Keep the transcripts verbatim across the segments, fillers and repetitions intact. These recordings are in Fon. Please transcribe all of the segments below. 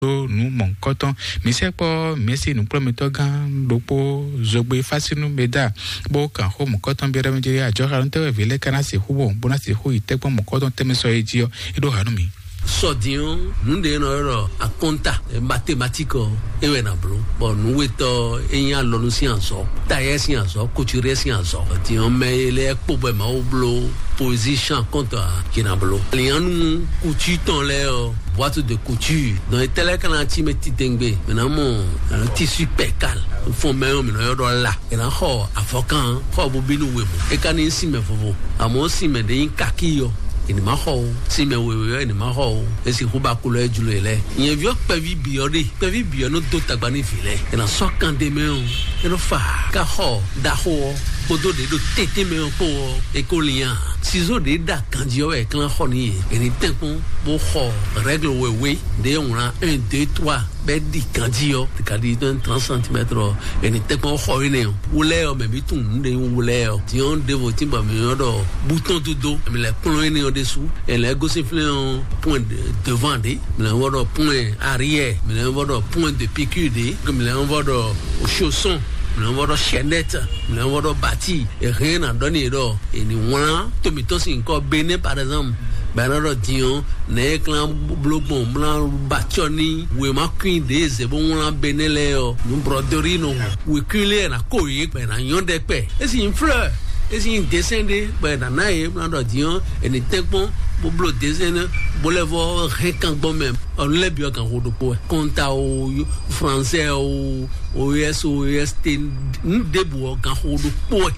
ɖó nǔ mɔ̌hunkɔtɔn. Mǐ sɛkpɔ́ Mɛ̌si nǔkplɔ́nmɛtɔ́ gán ɖokpó Zogbe Fásínú Meda bó kan xó mɔ̌hunkɔtɔn byɔ́ ɖɔ mɛ jɛ ajɔxanú tɛ́ wɛ vǐ lɛ́ɛ ka ná sixú wɔn bó ná sixú yi tɛ́kpɔ́n mɔ̌hunkɔtɔn tɛnmɛ sɔ é jí ɔ́, é ɖó hanú mì. Sɔ din ɔ́, nǔ ɖé nɔ ylɔ́ ɖɔ akɔ́nta, mathématique ɔ́, é wɛ ná bló. Bɔ nǔwetɔ́ é nyí alɔnu sín azɔ̌, tayɛ́ sín azɔ̌, kuturɛ́ sín azɔ̌. Din ɔ́, mɛ e lɛ́ɛ kpo bɔ Mawu bló position akɔ́nta ɔ́, yě ná bló. Lǐnyanu kutu tɔn lɛ́ɛ ɔ́, boîte de couture. Donc étɛ́ lɛ́ɛ ka ná cí mɛ titewungbe, mǐ ná mɔ tissu percale. Fɔn mɛ ɔ́, mǐ nɔ ylɔ́ ɖɔ la. È nǎ xɔ avɔkan, xɔ bó bínú wěwú. É ka ní nyí sinmɛ vovo, amɔ̌ sinmɛ ɖé nyí kakí ɔ́, è ní má xɔ o. Sinmɛ wěwé ɔ́, è ní má xɔ o. É sixú ba kulɔ é jlo e lɛ́ɛ. Nyɛ̌ví ɔ́, kpɛví bǐ ɔ́ ɖe, kpɛví bǐ ɔ́ nɔ dó tagba n'i vǐ lɛ́ɛ. È nǎ sɔ́ kan ɖe mɛ ɔ́, é nɔ fa ká xɔ ɖaxó ɔ́ kpódó ɖě ɖo tɛ́ntɛ́n mɛ ɔ́ kpó ɔ́, é ko lian. Sizó ɖě ɖa ganjí ɔ́ wɛ è klán xɔ n'i. È ní tɛ́nkpɔ́n bó xɔ règle wěwé ɖě wlán un, deux, trois. Bɛ ɖi ganjí ɔ́, kadi tɔn trente centimètres ɔ́, ɛni tɛkpɔn xɔ yi nɛ ɔ́, wulɛ ɔ́, mɛ bi tun nu ɖe wulɛ ɔ́, diɔn ɖevo tí bɔ mi yɔ ɖɔ butɔn dodo, mi lɛ kplɔn yi nɛ ɔ́ ɖesu, ɛlɛ gosi flɛ ɔ́, point de devant ɖe, mi lɛ wɔ ɖɔ point arrière, mi lɛ wɔ ɖɔ point de piqûre ɖe, mi lɛ wɔ ɖɔ chausson, mi lɛ wɔ ɖɔ chaînette, mi lɛ wɔ ɖɔ bati, ɛhɛn na ɖɔ ni ɖɔ, ɛni wlan tomitɔ si nkɔ bene par exemple, bɛ na ɖɔ diɔn, ne e klan blo gbɔn mla ba tsɔ ni wema kuin ɖe ze bo wlan bene lɛ ɔ, nu broderie nɔ wu. We kuin lɛ na ko ye gbɛ na nyɔ ɖe kpɛ. Esi yin fleur, esi yin dessin ɖe gbɛ na na ye mla ɖɔ diɔn, eni tɛgbɔn bo blo dessin ne bo lɛ vɔ hɛn kan gbɔn mɛ. Ɔnu lɛ bi ɔ kan ho ɖokpo wɛ. Kɔnta o, français o, o s o, o s t, nu ɖebu ɔ kan ho ɖokpo wɛ.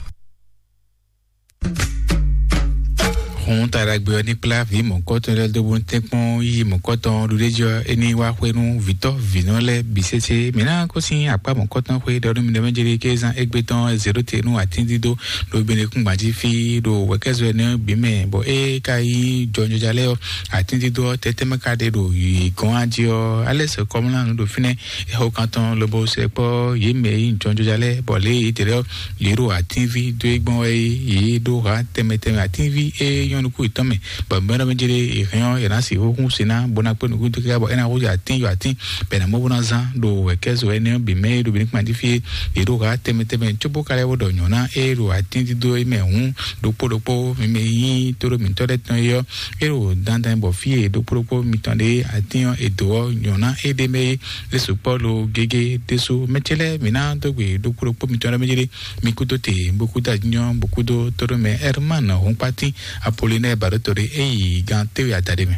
Hun taɖagbe ɔ́ ní kplá vǐ mɔ̌kɔtɔn lɛ́ɛ dó bó ní tɛ́nkpɔ́n yíyí mɔ̌kɔtɔn ɖuɖéjɔ é ní wá xwé nú vǐtɔ́ vǐnɔ lɛ́ɛ bǐ sésé. Mǐ ná kó sín akpá mɔ̌kɔtɔn xwé ɖɔ nú mi ɖɔ mɛ jeli ké zán égbé tɔn zěɖó te nú atíndídó ɖo Benekúngban jí fí ɖo wɛ̌kɛ́zɔ énɛ́ bǐ mɛ, bɔ é ka nyí jɔnjɔja lɛ́ɛ ɔ́, atíndídó ɔ́ tɛ́tɛ́ mɛ ka ɖe ɖo yǐ gɔ́n ají ɔ́, alɛ́ sɛ kɔmlá nǔ ɖo fínɛ́. Ɛxɔkantɔn lobo sɛ kpɔ yě mɛ e nyí jɔnjɔja lɛ́ɛ, bɔ lě yě tɛ lɛ́ ɔ́, yě ɖo atínví dó é gbɔn wɛ é, yě ɖó ha tɛnmɛ tɛnmɛ atínví e nyɔ́ nukún yětɔn mɛ, bɔ mɛ ɖɔ mɛ jɛ ɖe è hɛn ɔ́, è nǎ sixú hún si ná bó ná kpé nukún dó kíká bɔ é ná húzú atín yɔ atín bɔ è nǎ mɔ bó ná zán ɖo wɛ̌kɛ́zo énɛ́ ɔ́ bǐ mɛ e ɖo Benekúngban jí fí é. Yě ɖó ha tɛnmɛ tɛnmɛ cóbó ka lɛ́ wó ɖɔ nyɔ̌ná e ɖo atín dídó é mɛ hǔn ɖokpó ɖokpó mi mɛ nyí tóɖómǐtɔ́ lɛ́ɛ tɔn é ɔ́, é ɖo dandan bɔ fí e ɖokpó ɖokpó mitɔn ɖe atín ɔ́ è dǒ ɔ́, nyɔ̌ná é ɖ'é mɛ é. É sukpɔ́ lo gégé ɖésú. Mɛ ce lɛ́ɛ, mǐ ná dó gbe ɖokpó ɖokpó mitɔn lɛ́ɛ mɛ jɛ ɖe. Mi kúdó te, bó kúdó ajínyɔ́, bó kúdó tóɖó mɛ Herman Hunkpatín Apollinaire Baɖótɔ́ ɖé é yi gán téwé adaɖé mɛ.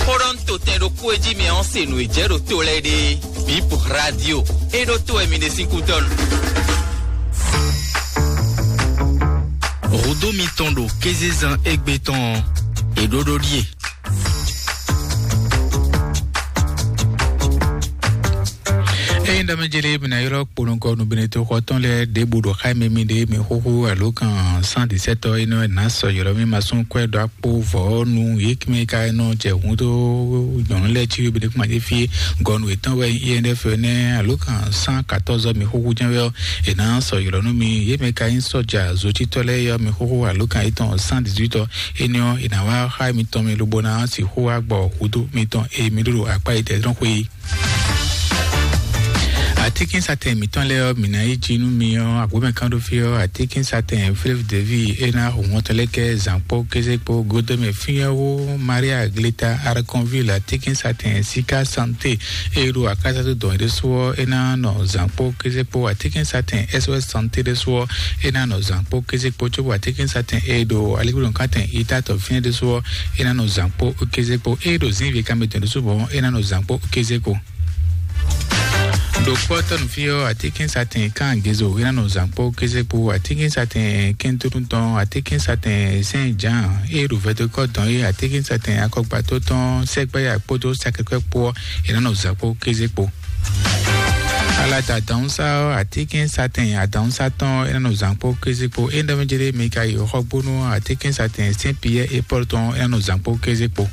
Xó ɖɔ ń to tɛn ɖokpó e jí mi ɔ́ se nǔ e jɛ ɖo to lɛ́ɛ ɖe. Bip Radio, é ɖó to wɛ mi ɖe sín kútɔ́ nu. Hǔdó mitɔn ɖo kézezán égbé tɔn ɔ́, è ɖó ɖó ɖíe. Eye ɖɔ mɛ jeli mi na ylɔ kpolongɔ nubinito xɔtɔn lɛ ɖebu ɖo xa mi mi ɖe mi xoxo alo kan cent dix-sept ɔ ene na sɔ ylɔ mi ma sún kwɛ ɖɔ akpo vɔ nu ye kimi ka nɔ jɛ hun do nyɔnu lɛ ci bi kuma ye fi gɔnu etɔn wɛ I N F ne alo kan cent quatorze mi xoxo jɛ wɛ ɔ, ena sɔ ylɔ nu mi ye mɛ ka yin sɔja zotitɔ lɛ yɔ mi xoxo alo kan etɔn cent dix-huit ɔ, ene ɔ ena wa xa mi tɔn mi lobo na si xo wa gbɔ hudo mi tɔn e mi ɖo akpa yi tɛ drɔn xwe. Atikinsatɛn mǐtɔn lɛ́ɛ ɔ́, mǐ ná yi jí nú mi ɔ́, agbǒmɛ kán ɖó fí ɔ́, atikinsatɛn Fleuve de Vie é ná hu hɔn tɔn lɛ́ɛ kɛ zǎn kpó kéze kpó godome fínyɛ́wó Maria Gleta Arconville, atikinsatɛn Sika Santé é ɖo akásátó dɔn ɖésú ɔ́, é ná nɔ zǎn kpó kéze kpó, atikinsatɛn S O S Santé ɖésú ɔ́, é ná nɔ zǎn kpó kéze kpó, cóbɔ atikinsatɛn é ɖo aligbólɔnkátɛn itatɔ fínɛ́ ɖésú ɔ́, é ná nɔ zǎn kpó kéze kpó, é ɖo zǐnve kanmɛ tɔn ɖésú bɔ é ná nɔ zǎn kpó kéze kpó. Ɖo kpɔ́tɔ́ nǔ fí ɔ́, atíkínsatɛn Kángezo é ná nɔ zǎn kpó kéze kpó, atíkínsatɛn Kɛntúnútɔn, atíkínsatɛn Sɛn Jǎan é ɖo vɛdokɔ́ dɔn é, atíkínsatɛn Akɔgbató tɔn Sɛgbɛ́ya kpódó Sakɛkwɛ́ kpó ɔ́, é ná nɔ zǎn kpó kéze kpó. Alata Adǎnsá ɔ́, atíkínsatɛn Adǎnsá tɔn é ná nɔ zǎn kpó kéze kpó. É ɖɔ mɛ jɛ ɖé mi ka yi xɔgbónú atíkínsatɛn Sɛn Piyɛ́ é Pɔ́lu tɔn é ná nɔ zǎn kpó kéze kpó.